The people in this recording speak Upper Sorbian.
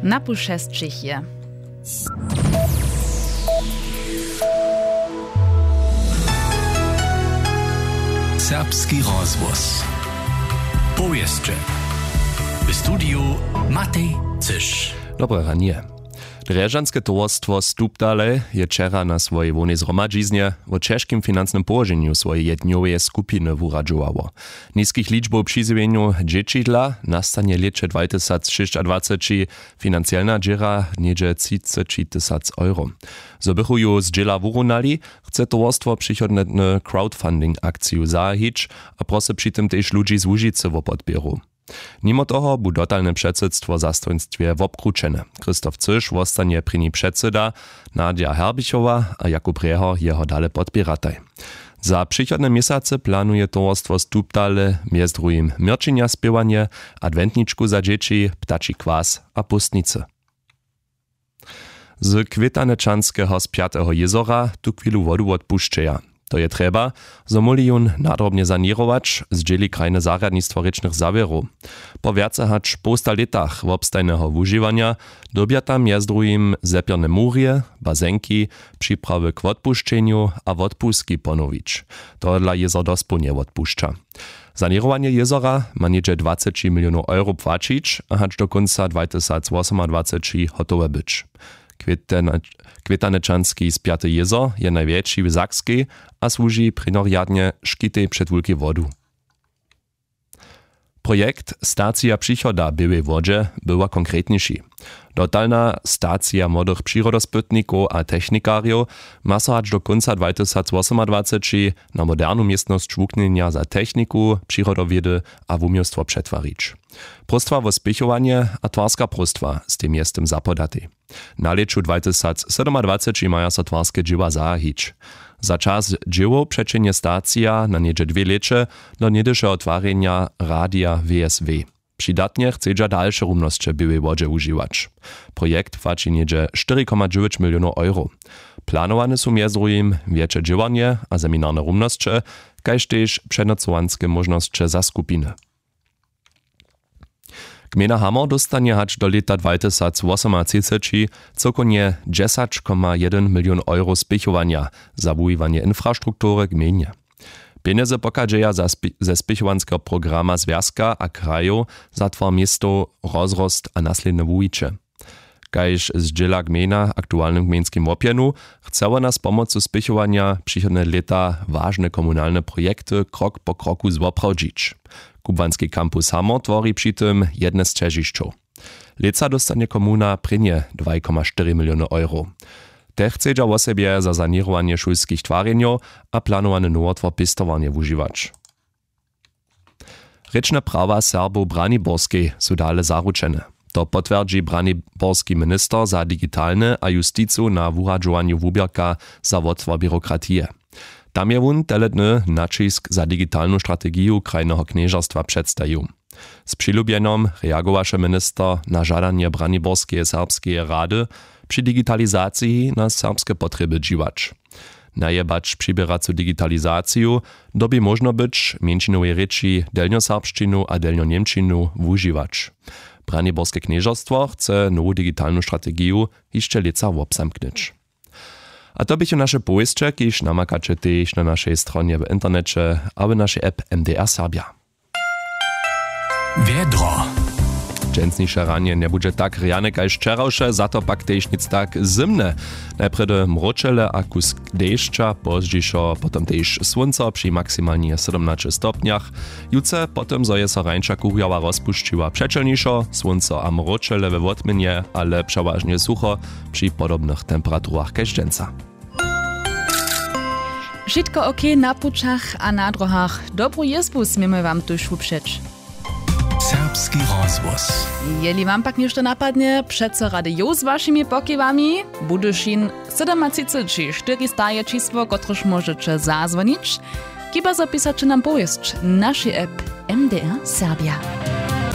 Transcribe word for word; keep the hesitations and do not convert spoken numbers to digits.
Na pół šesćich je. Serbski rozhłos. Powěsće. W studiju Matej Cyš. Dobre ranje. Drježdźanske towarstwo Stupdale je wčera na swojej hłownej zhromadźiznje wo ćežkim financnym połoženju swojej jednjoweje skupiny wuradźowało. Niskich ličbow přizjewjenjow dźěćidla nastanje w lěće dwatysacšěsćadwaceći financielna dźěra něhdźe třiceći tysac euro. Zo bychu ju zdźěla wurunali, chce towarstwo přichodnje crowdfunding akciju zahajić a prosy při tym tež ludźi z Łužicy wo podpěru. Nimo toho bu dotalne předsydstwo w zastojnstwje wobkrućene. Christoph Cyš wostanje prěni předsyda, Nadja Herbichowa a Jakub Rjeho jeho dale podpěrataj. Za přichodne měsacy planuje towarstwo Stupdale mjez druhim měrćenja spěwanje, adwentničku za dźěći, ptači kwas a póstnicy. Z Kwětanečanskeho z Pjateho jězora tuchwilu wodu wotpušćeja. To je trjeba, zo móhli jón nadrobnje saněrować, zdźěli krajne zarjadnistwo rěčnych zawěrow. Po wjace hač połsta lětach wobstajneho wužiwanja dyrbja tam mjez druhim zepjerne murje, bazenki, připrawy k wotpušćenju a wotpustki ponowić. Tohodla jězor dospołnje wotpušća. Saněrowanje jězora ma něhdźe dwaceći milionow euro płaćić a hač do kónca dwatysacwosomadwaceći hotowe być. Kwětanečanski spjaty jězor je najwjetši w Sakskej a słuži prěnjorjadnje škitej před wulkej wodu. Projekt Stacija přichoda w Běłej Wodźe bywa konkretniši. Dotalna stacija młodych přirodospytnikow a technikarjow ma so hač do kónca dwatysacwosomadwaceći na modernu městnosć wuknjenja za techniku, přirodowědy a wuměłstwo přetwarić. Próstwa wo spěchowanje a twarska próstwa stej mjeztym zapodatej. Na lěću dwatysacsydomadwaceći maja so twarske dźěła zahajić. Za čas dźěłow přećehnje stacija na něhdźe dwě lěće do něhdyšeho twarjenja radija W S W. Přidatnje chcedźa dalše rumnosće w Běłej Wodźe wužiwać. Projekt płaći něhdźe štyri koma dźewjeć milionow euro. Planowane su mjez druhim wjetše dźěłarnje a seminarne rumnosće, kaž tež přenocowanske móžnosće za skupiny. Gmejna Hamor dóstanje hač do lěta dwatysacwosomatřiceći cyłkownje dźesać koma jedyn milion euro spěchowanja za wuwiwanje infrastruktury w gmejnje. Pjenjezy pochadźeja za spi-, ze spěchowanskeho programa zwjazka a krajow za twar městow, rozrost a naslědne wuwiće. Kaž zdźěla gmejna w aktualnym gmejnskim łopjenu, chce wona z pomocu spěchowanja přichodne lěta wažne komunalne projekty krok po kroku zwoprawdźić. Kubłanski kampus Hamor twori při tym jedne z ćežišćow. Lětsa dóstanje komuna prěnje dwaj koma štyri miliony euro. Te chcedźa wosebje za saněrowanje šulskich twarjenjow a planowany nowotwar pěstowarnje wužiwać. Rěčne prawa Serbow w Braniborskej su dale zaručene. To potwjerdźi braniborski minister za digitalne a justicu na wuradźowanju wuběrka za wotwar běrokratije. Tam je wón tele dny naćisk za digitalnu strategiju krajneho knježerstwa předstajił. Z přilubjenjom reagowaše minister na žadanje Braniborskeje serbskeje rady, při digitalizaciji na serbske potrjeby dźiwać. Najebać přiběracu digitalizaciju dyrbi móžno być w mjeńšinowej rěči delnjoserbšćinu a delnjoněmčinu wužiwać. Braniborske knježerstwo chce nowu digitalnu strategiju hišće lětsa wobzamknyć. A to běchu naše powěsće, kiž namakaće tež na našej stronje w interneće a w našej app M D R Serbja. Wjedro. Dźensniše ranje njebudźe tak rjane kaž wčerawše, za to pak tež nic tak zymne. Najprjedy mróčele a kusk dešća, pozdźišo potom tež słónco při maksimalnje sydomnaće stopnjach. Jutře potom, zo je so rańša kurjała rozpušćiła, přećelnišo, słónco a mróčele we wotměnje, ale přewažnje sucho při podobnych temperaturach kaž dźensa. Wšitko ok na pućach a na dróhach. Dobru jězbu směmy wam tuž wupřeć. Serbski rozhłos. Jeli wam pak něšto napadnje, přeco rady jow z wašimi pokiwami. Budyšin sydomatřiceći štyristaje čisło, kotrež móžeće zazwonić. Chiba zo pisaće nam powěsć w našej app M D R Serbja.